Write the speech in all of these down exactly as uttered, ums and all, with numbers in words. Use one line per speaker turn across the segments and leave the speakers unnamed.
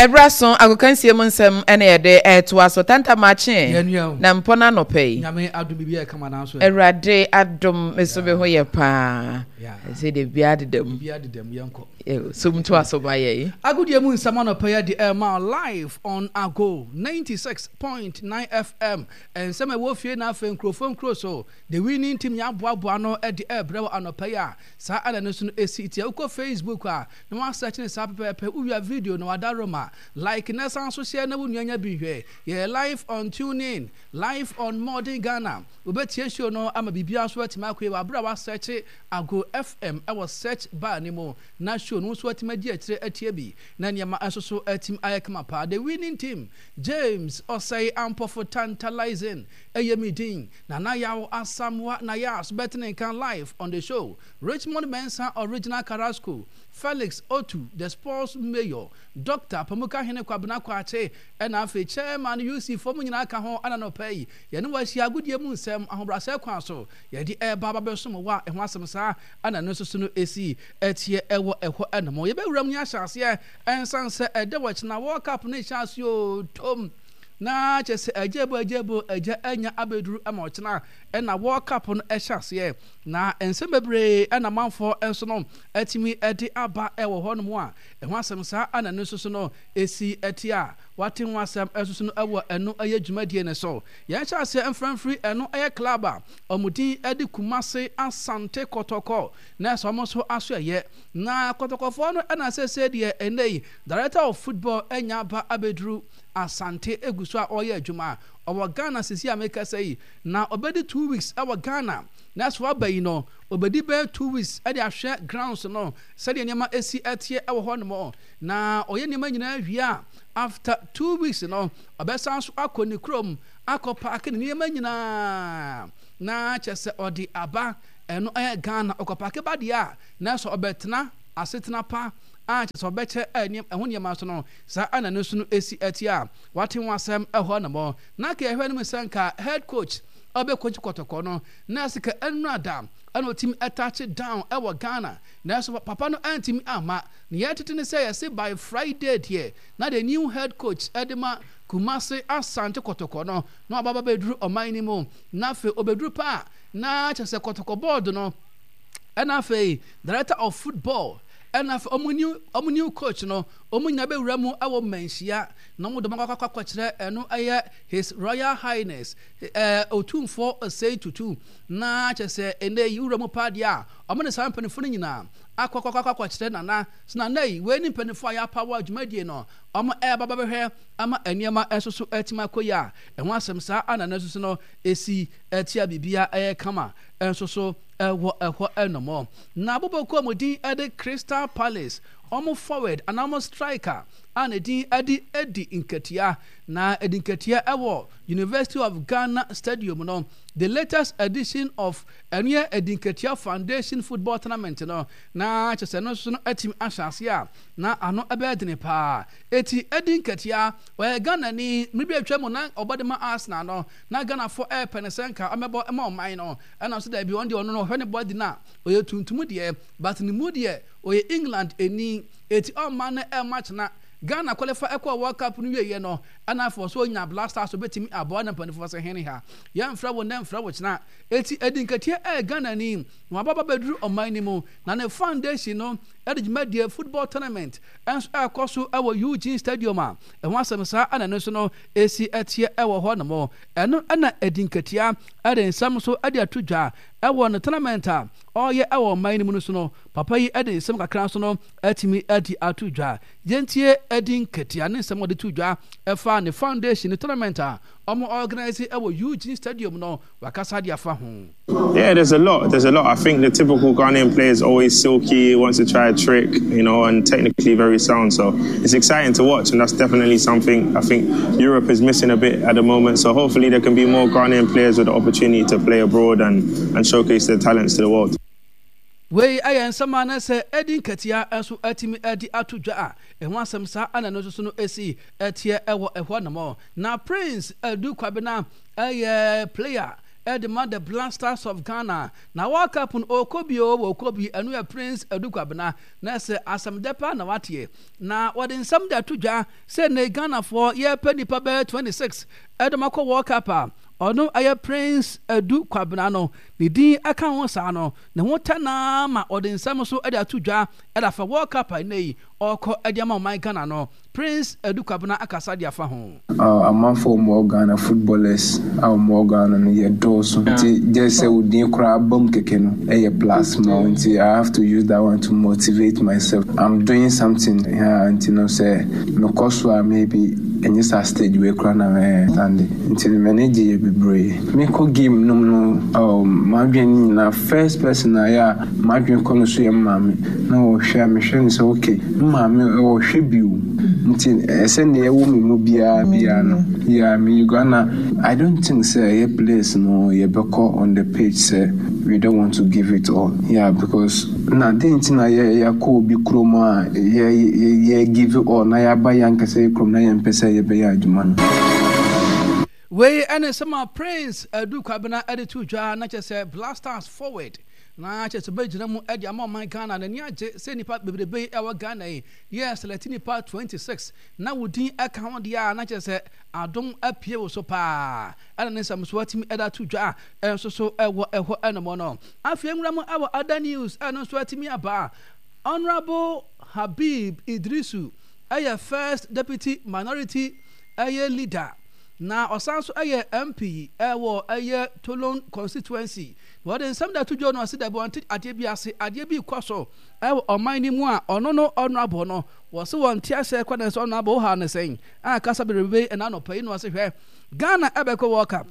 Ɛberɛ so agokansie mu nsɛm ɛna yɛde ɛtoa so tantamakye na mpɔ no anɔpɛ yi.
Nyame adom, biribi yɛ kama nanso.
Awurade adom, me so me ho yɛ paa sɛ de bia deda mu.
Biribi adeda mu, yɛnkɔ.
Som to aso ma yɛ yi.
Agodie mu nsɛm anɔpɛ yɛ de ɛma live on Ago ninety-six point nine F M. Nsɛm a ɛwɔ fie na afei nkurɔfoɔ nkuro so, the winning team yɛaboaboa no de ɛrebrɛ wɔ anɔpɛ yi a saa ɛna no so no ɛsi tia. Wokɔ Facebook a na wasɛkye ne saa pɛpɛɛpɛ. Wowia video na wada roma like na san so hyɛ na wo nua nya bi nhwɛ. Yɛ live on TuneIn, live on Modern Ghana. Wobɛtie show no ama biribiara nso atumi akɔ yi wɔ abere a wasɛkye Ago F M ɛwɔ search bar ne mu na show no nso atumi adi akyire atie bi na nneɛma nso so atumi ayɛ kama paa. The winning team, James Ɔsɛe Ampɔfo Tantalizing ɛyɛ mi din. Nana Yaw Asamoah na yɛ aso bɛtene nka live on the show. Richmond Mensa, Original Carrasco, Felix Otu, the sports mayor, Doctor Pamuka Hene Kwabena Kwakye, ɛna afei chairman U C fo mu nyinaa ka ho. Ɛna nɔpɛ yi yɛne wɔahyia agodie mu nsɛm ahobrɛasɛ kwan so yɛde ɛreba aba bɛsom wɔ a ɛho asɛm saa ɛna no nso so no ɛsi ɛteɛ ɛwɔ ɛhɔ. Ɛnom yɛbɛwura mu ne ahyɛ aseɛ ɛnsan sɛ ɛdɛ wɔ kyena World Cup no hyɛ aseɛ o tom na kyɛ sɛ agya bo agya bo agya anya abɛduru ama ɔkyena ɛna World Cup no ɛhyɛ aseɛ na nsɛm bebree ɛna manfoɔ nso no atumi ɛde aba ɛwɔ hɔnom a ɛho asɛm saa ɛna no nso so no ɛsi ɛte a wate ho asɛm ɛnso so no ɛwɔ ɛno ɛyɛ dwumadie no so. Yɛn hyɛ aseɛ mframfiri ɛno ɛyɛ club a ɔmo din ɛde Kumase Asante Kɔtɔkɔ na ɛsɛ ɔmo nso aso ɛyɛ na Kɔtɔkɔfoɔ no ɛna sɛsɛ deɛ ɛnɛ yi director of football ɛnya aba abɛduru Asante egu so a ɔreyɛ adwuma. Ɔwɔ Ghana sisi a mekasa yi na ɔbɛdi two weeks ɛwɔ Ghana na ɛso aba yi no ɔbɛdi bɛyɛ two weeks ɛde ahwɛ grounds no sɛdeɛ nneɛma esi ɛteɛ ɛwɔ hɔ nom na ɔyɛ nneɛma nyinaa wie a, after two weeks no ɔbɛsan so akɔ ne kurom akɔ pack ne nneɛma nyinaa na kyɛ sɛ ɔde aba. Ɛno ɛyɛ Ghana ɔkɔ pack ba deɛ a na sɛ ɔbɛtena asetena pa a kyɛ sɛ ɔbɛkyɛ ɛho nneɛma so no saa ɛna no nso no esi ɛte a wate ho asɛm ɛhɔ nom. Na ka ɛhwɛ no mu sɛ nka head coach ɔbɛkɔkyi Kɔtɔkɔ no na ɛsɛ ka ɛnura da ɛna ɔtumi ɛtouch down ɛwɔ Ghana, nanso papa no ɛntumi ama ne yɛtete ne sɛ yɛse by Friday deɛ na the new head coach ɛde ma Kumase Asante Kɔtɔkɔ no na waba bɛduru ɔman no mu. Na afei ɔbɛduru paa na kyerɛ sɛ Kɔtɔkɔ board no ɛna afei director of football ɛna afei ɔmo new ɔmo new coach no ɔmo nyinaa bɛwura mu ɛwɔ mmanhyia na ɔmo dɔm akɔ akɔkyerɛ ɛno ɛyɛ His Royal Highness ɛɛ Otumfoɔ Osei Tutu. Na kyerɛ sɛ ɛnɛ yi wura mu paa deɛ a ɔmo ne saa mpanimfoɔ no nyinaa akɔ akɔ akɔ akɔkyerɛ nana so. Nana yi wei ne mpanimfoɔ a yɛapa wɔ dwumadie no ɔmo ɛɛba bɛhwɛ ama nneɛma nso so ɛtumi akɔ yi a ɛho asɛm saa ana no nso so no esi ɛtia biribia ɛyɛ kama nso so ɛwɔ ɛhɔ. Ɛnomɔ na abobɔkuo mu din ɛde Crystal Palace, ɔmo forward anaa ɔmo striker a ne din ɛde Edi Nketia na Edi Nketia ɛwɔ University of Ghana Stadium no, the latest edition of ɛno yɛ Edi Nketia Foundation football tournament no na kyerɛ sɛ no nso no atumi ahyɛ ase a na ano ɛbɛyɛ dene paa. Eti Edi Nketia ɔyɛ Ghana ni. Mmiri bi atwa mu na ɔbɔ de ma Arsenal no na Ghanafoɔ ɛɛpɛ ne sɛ nka ɔmɛbɔ ɛma ɔman no ɛna nso daabi, ɔno deɛ ɔno no ɔhwɛ ne bɔdi no a ɔyɛ tuntum deɛ, but ne mu deɛ ɔyɛ England ani eti ɔma no ɛma kyena Ghana qualify ɛkɔ World Cup no wieɛ no ɛna afɔ so onya Black Stars obetumi aboa na mpanimfoɔ sɛ hene ha yɛmfrɛ wo nnɛ mfrɛ wo kyena. Eti Edi Nketeɛ ɛyɛ Ghana ni na wababa bɛduru ɔman no mu na ne foundation no ɛde dwumadie football tournament ɛnso ɛkɔ so ɛwɔ Eugene Stadium a ɛho asɛm saa ɛna no nso no esi ɛteɛ ɛwɔ hɔ nom. Ɛno ɛna Edi Nketeɛ ɛde nsɛm nso ɛde ato dwa ɛwɔ ne tournament a ɔreyɛ ɛwɔ ɔman no mu no so no. Papa yi ɛde nsɛm kakra nso no ɛtumi ɛde ato dwa. Yɛntie Edi Nketeɛ ne nsɛm ɔde to dwa ɛfa ne foundation ne tournament a ɔmo organise ɛwɔ Eugene Stadium no, wakasa de afa ho.
Yeah, there's a lot. There's a lot. I think the typical Ghanaian player is always silky, wants to try a trick, you know, and technically very sound. So it's exciting to watch, and that's definitely something I think Europe is missing a bit at the moment. So hopefully there can be more Ghanaian players with the opportunity to play abroad and, and showcase their talents to the world.
Wei ayɛ nsɛm a na sɛ Edi Nketea nso atumi adi ato dwa a ɛho asɛm saa ana no nso so no esi ɛteɛ ɛwɔ ɛhɔ nom. Na Prince Adu Kwabena ɛyɛ player Ɛde ma the Black Stars of Ghana na World Cup no ɔkɔ bi o, wɔkɔ bi. Ɛno yɛ Prince Adu Kwabena na sɛ asɛm dɛ paa na wateɛ na wɔde nsɛm de ato dwa sɛ ne Ghanafoɔ yɛpɛ nipa bɛyɛ twenty-six ɛde ma kɔ World Cup a, ɔno ɛyɛ Prince Adu Kwabena no ne din ɛka ho saa no ne ho tɛ naa ma ɔde nsɛm so ɛde ato dwa ɛde afa World Cup a ɛnɛ yi ɔkɔ ɛde ama ɔman Ghana no. Prince Adu Kwabena akasa de afa ho.
Amanfoɔ a wɔwɔ Ghana, footballers a wɔwɔ Ghana no yɛ dɔɔso, nti gye sɛ wo din koraa ba mu kɛkɛ no ɛyɛ plus ma wo. Nti I have to use that one to motivate myself. I'm doing something, yeah, nti no sɛ mekɔ so a, maybe ɛnyɛ saa stage wei koraa na mɛyɛ stand. Nti no m'ani gye yɛ bebree. Mekɔ game no mu no, um, m'adwene nyinaa, first person a yɛ a m'adwene kɔ no so yɛ maame na wɔhwɛ a mehwɛ no sɛ okay, maame wɔhwɛ bio, nti ɛsɛ nea ɛwɔ me mu biara biara no, yeah, me Ghana, I don't think sɛ ɛyɛ players no yɛbɛkɔ on the page sɛ we don't want to give it all, yeah, because na den nti na yɛ yɛakɔ obi kurom a yɛ yɛ yɛ give it all na yɛaba yɛn ankasa yɛ kurom na yɛmpɛ sɛ yɛbɛyɛ adwuma no.
Wei ɛne nsɛm a Prince Adu Kwabena ɛde to dwa na kyerɛ sɛ Black Stars forward na kyerɛ sɛ bɛgyina mu ɛde ama ɔman Ghana. N'ani agye sɛ nipa bebrebe yi ɛwɔ Ghana yi yɛ select nipa twenty-six na wo din ɛka ho deɛ a, na kyerɛ sɛ adom apue wo so paa. Ɛna ne nsɛm so atumi ɛde ato dwa ɛnso so ɛwɔ ɛhɔ ɛnom no. Afei nwura mu ɛwɔ other news, ɛno nso atumi aba. Honourable Habib Idrisu ɛyɛ first deputy minority ɛyɛ leader na ɔsan so ɛyɛ M P ɛwɔ ɛyɛ Tolon constituency. Wɔde nsɛm da to dwa no ɔse dabi, wɔnte adeɛ bi ase, adeɛ bi kɔ so ɛwɔ ɔman no mu a ɔno no honourable no wɔse wɔnte aseɛ kɔ ne sɛ honourable ha ne sɛn a kasa bebrebe ɛna anɔpa yi no ɔse hwɛ, Ghana ɛbɛkɔ World Cup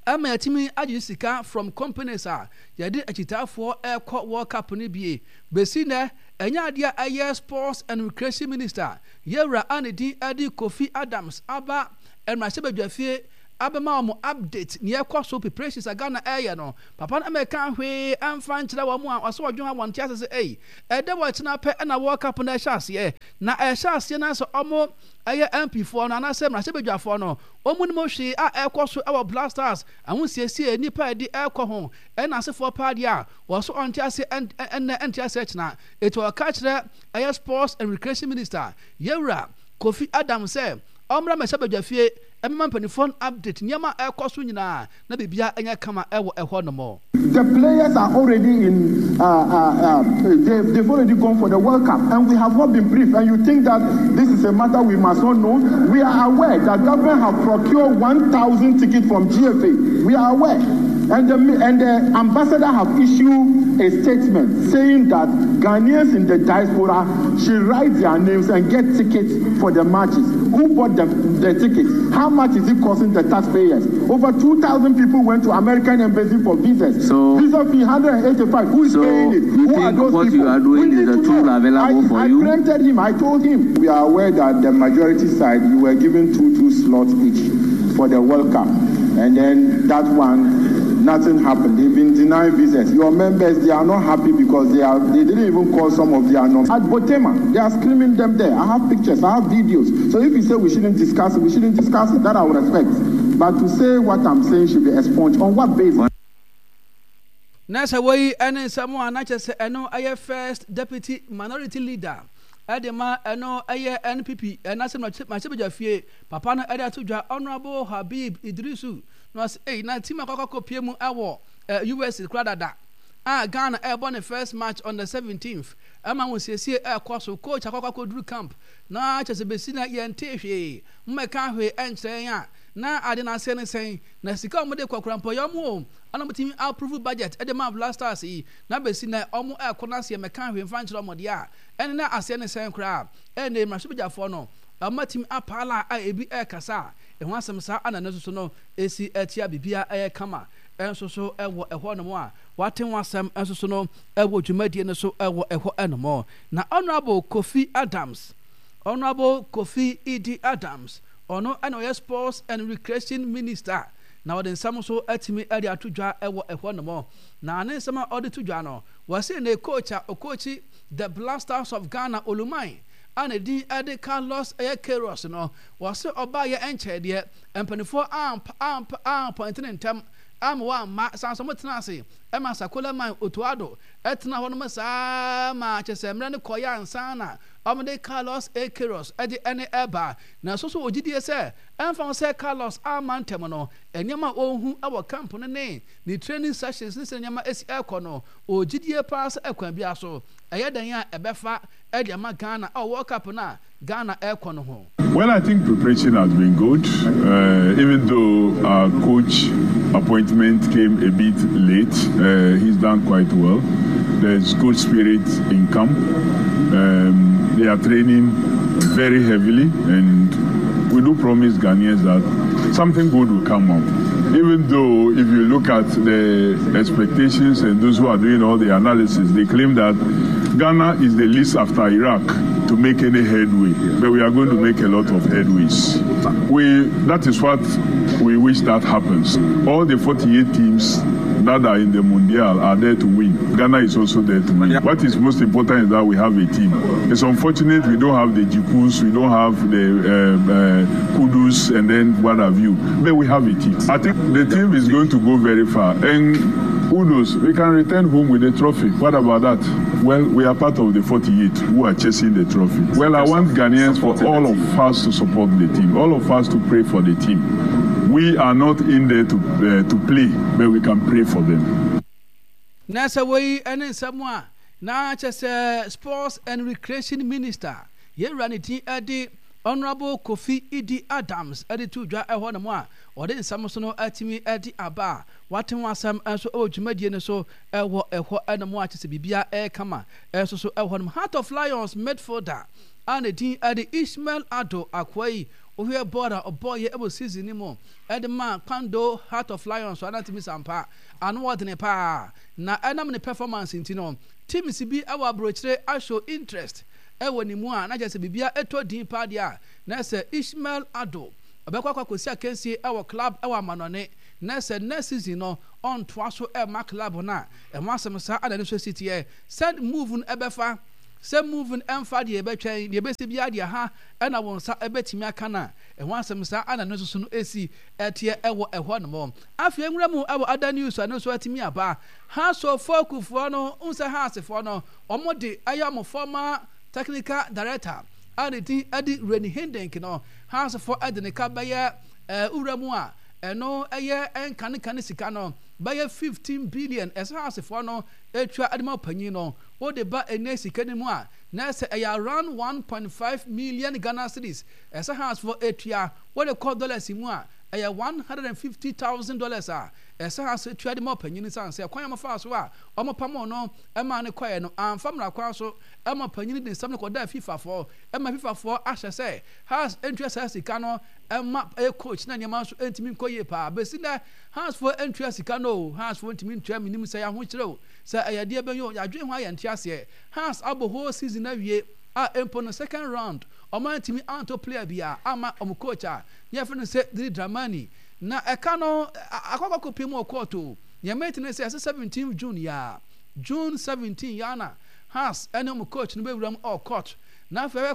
ɛma yɛtumi agye sika from companies a yɛde akyitaafoɔ ɛkɔ World Cup no bie. Bɛsi nɛ ɛnyɛ adeɛ a ɛyɛ Sports and Recreation Minister yɛwura a ne din ɛde Kofi Adams aba mmarahyɛbadwafie abɛma wɔn update nea ɛkɔ so, preparations a Ghana ɛyɛ no. Papa no ɛmɛka hwee ɛmfa nkyerɛ wɔn a ɔsɛ ɔdwen a wɔn te ase sɛ ɛyi ɛdɛ wɔ kyena pɛ ɛna World Cup no ɛhyɛ aseɛ na ɛhyɛ aseɛ na sɛ ɔmo ɛyɛ M P foɔ no anaasɛ mmarahyɛbadwafoɔ no wɔn nim hwee a ɛkɔ so ɛwɔ Black Stars ahosiesie nipa a yɛde ɛkɔ ho ɛna asefoɔ paa deɛ a wɔso ɔnte ase ɛnɛ ɛnte ase ɛkyena. Etu ɔka kyerɛ ɛyɛ Sports and Recreation Minister yɛwura Kofi Adams sɛ ɔmmra mmarahyɛbadwafie ɛmɛma mpanimfoɔ no update nneɛma a ɛkɔ so nyinaa na biribia ɛnyɛ kama ɛwɔ ɛhɔ nom.
The players are already in, uh, uh, uh, they've, they've already gone for the World Cup, and we have not been briefed. And you think that this is a matter we must not know? We are aware that government have procured one thousand tickets from G F A. We are aware. And the, and the ambassador have issued a statement saying that Ghanaians in the diaspora should write their names and get tickets for the matches. Who bought the, the tickets? How much is it costing the taxpayers? Over two thousand people went to American embassy for visas.
So,
visa fee one hundred eighty-five. Who is
so
paying it?
You
Who
think
are those
what
people?
you are doing
We
is
need
a
to
tool
know.
available
I,
for
I
you?
Preempted him. I told him. We are aware that the majority side, you were given two, two slots each for the World Cup. And then that one, nothing happened. They've been denying visas. Your members, they are not happy because they are they didn't even call some of their numbers. At Botema, they are screaming them there. I have pictures, I have videos. So if you say we shouldn't discuss it, we shouldn't discuss it. That I would respect. But to say what I'm saying should be expunged, on what basis?
Na sɛ wɔyi ɛne nsɛm a na kyerɛ sɛ ɛno ɛyɛ first deputy minority leader ɛde ma ɛno ɛyɛ N P P ɛna sɛ mmarahyɛbadwa fie papa no ɛde ato dwa, Honourable Habib Idrisu na ɔsɛ ɛyi na team akɔkɔ pie mu ɛwɔ ɛ U S kora dada a Ghana ɛrebɔ ne first match on the seventeenth ɛma wɔn siesie ɛrekɔ so, coach akɔkɔ akɔduru camp na kyerɛ sɛ bɛsi na yɛnte hwee mmɛka hwee ɛnkyerɛ yɛn a na ade no aseɛ ne sɛn na sika a wɔde kɔ kora mpɔ yɛ ɔmo o ɛna wɔtumi approve budget ɛde ma Black Stars yi na bɛsi na ɔmo ɛkɔ no aseɛ mɛka hwee mfa nkyerɛ ɔmo deɛ a ɛne na aseɛ ne sɛn koraa. Ɛne mmarahyɛbadwafoɔ no ɔmo atumi apaala a ebi ɛrekasa a ɛho asɛm saa ana no nso so no esi ɛtia biribiara ɛyɛ kama ɛnso so ɛwɔ ɛhɔ nom a wate ho asɛm ɛnso so no ɛwɔ dwumadie no so ɛwɔ ɛhɔ ɛnom. Na Honourable Kofi Adams, Honourable Kofi Idi Adams, ɔno ɛna ɔyɛ Sports and Recreation Minister na ɔde nsɛm nso atumi ɛde ato dwa ɛwɔ ɛhɔ nom. Na ne nsɛm a ɔde to dwa no, wɔsi ne coach a ɔcoachi the Black Stars of Ghana, Oluman a ne din ɛde Carlos ɛyɛ Queiroz no, wɔsi ɔbaa yɛ ɛnkyɛn deɛ mpanimfoɔ amp amp ampɔnte ne ntɛm Ama wamma san so motena ase ɛma Sakola Otto Addo ɛtena hɔ nom saa ma kyɛ sɛ mmerɛ no kɔyɛ ansa na ɔmde Carlos A Queiroz ɛde ɛne ɛba. Na so so ogyidie sɛ ɛmfa ho sɛ Carlos ama ntɛm no, nneɛma a ɔhu ɛwɔ camp no ne ne training sessions ne sɛ nneɛma esi ɛkɔ no, ogyidie paa sɛ ɛkwan bi so ɛyɛ dan a ɛbɛfa ɛde ama Ghana a World Cup no a Ghana ɛkɔ no ho.
Well, I think preparation has been good, uh, even though our coach appointment came a bit late. Uh, he's done quite well. There's good spirit in camp. Um, they are training very heavily, and we do promise Ghanaians that something good will come out. Even though, if you look at the expectations and those who are doing all the analysis, they claim that Ghana is the least after Iraq to make any headway, but we are going to make a lot of headways. We, that is what we wish that happens. All the forty-eight teams that are in the Mundial are there to win. Ghana is also there to win. What is most important is that we have a team. It's unfortunate we don't have the Djikus, we don't have the uh, uh, Kudus, and then what have you. But we have a team. I think the team is going to go very far. And who knows, we can return home with a trophy. What about that? Well, we are part of the forty-eight who are chasing the trophy. Well, I want Ghanaians, for all of us to support the team, all of us to pray for the team. We are not in there to, uh, to play, but we can pray for them.
Na sɛ wei ne nsɛm a na kyɛ sɛ Sports and Recreation Minister, yɛwura ne din de Honorable Kofi Idi Adams, de to dwa ɛhɔ nom a ɔde nsɛm so no atumi de aba a wate ho asɛm nso wɔ dwumadie no so ɛwɔ ɛhɔ ɛnom a kyɛ sɛ biribia ɛrekama ɛnso so ɛwɔ hɔ nom. Heart of Lions midfielder a ne din de Ishmael Addo, akoa yi wohwɛ bɔɔl a ɔbɔɔyɛ ɛwɔ season no mu ɛde ma Kwando Heart of Lions so anatumi sampa ano ɔdene paa, na ɛnam ne performance nti no, teams bi ɛwɔ aburokyire ahyɛ interest ɛwɔ ne mu a na kyerɛ sɛ biribia ɛtɔ din paa deɛ a na sɛ Ishmael Addo ɔbɛkɔ akɔ akɔsi akansie ɛwɔ club ɛwɔ amanɔne, na sɛ next season no ɔntoa so ɛma club no a ɛho asɛm saa ana ne nso si teɛ sɛ move no ɛbɛfa, sɛ move no ɛmfa deɛ, ɛbɛtwɛn deɛ ɛbɛsi biara deɛ ha ɛna wɔn nsa ɛbɛtumi aka na ɛho asɛm saa ana ne nso so no esi ɛteɛ ɛwɔ ɛhɔ nom. Afei nwura mu ɛwɔ other news a ne nso ɛtumi aba, Hearts of Oak foɔ no nsɛ Heartsfoɔ no wɔn de ɛyɛ wɔn former technical director a ne din ɛde Rene Hiddink no, Heartsfoɔ ɛde ne ka bɛyɛ ɛɛ wura mu a ɛno ɛyɛ ɛnkanekane sika no bɛyɛ fifteen billion ɛsɛ Heartsfoɔ no etua ɛde ma panyin no. Wɔde ba ɛnɛ sika no mu a na ɛsɛ ɛyɛ around one point five million Ghana cedis ɛsɛ Heartsfoɔ etua. Wɔde kɔ dollars mu a, ɛyɛ one hundred and fifty thousand dollars a ɛsɛ Hearts etua de ma panyin no, san sɛ kwan a wɔfa so a wɔn pam no ɛma ne kɔɛ no amfa mmara kwan so, ɛma panyin de nsɛm no kɔda FIFA foɔ, ɛma FIFA foɔ ahyɛ sɛ Hearts ntua saa sika no ɛma ɛyɛ coach, na nneɛma nso ntumi nkɔ yie paa. Bɛsi nɛ Hearts foɔ ntua sika no o, Hearts foɔ ntumi ntua. Minim sɛ yɛahokyerɛ o, sɛ ɛyɛ deɛ bɛyɛ o, yɛadwene ho ayɛ nte aseɛ. Hearts abɔ whole season awie a mpo no second round ɔmo antumi anto player bi a ama ɔmo coach a ne yɛfrɛ no sɛ Didi Dramani, na ɛka no akɔkɔkɔ pie mu wɔ court o. Nea mɛti ne sɛ ɛsɛ seventeen June yaa, June seventeen yaa na Hearts ɛne ɔmo coach no bɛwura mu ɔwɔ court na afei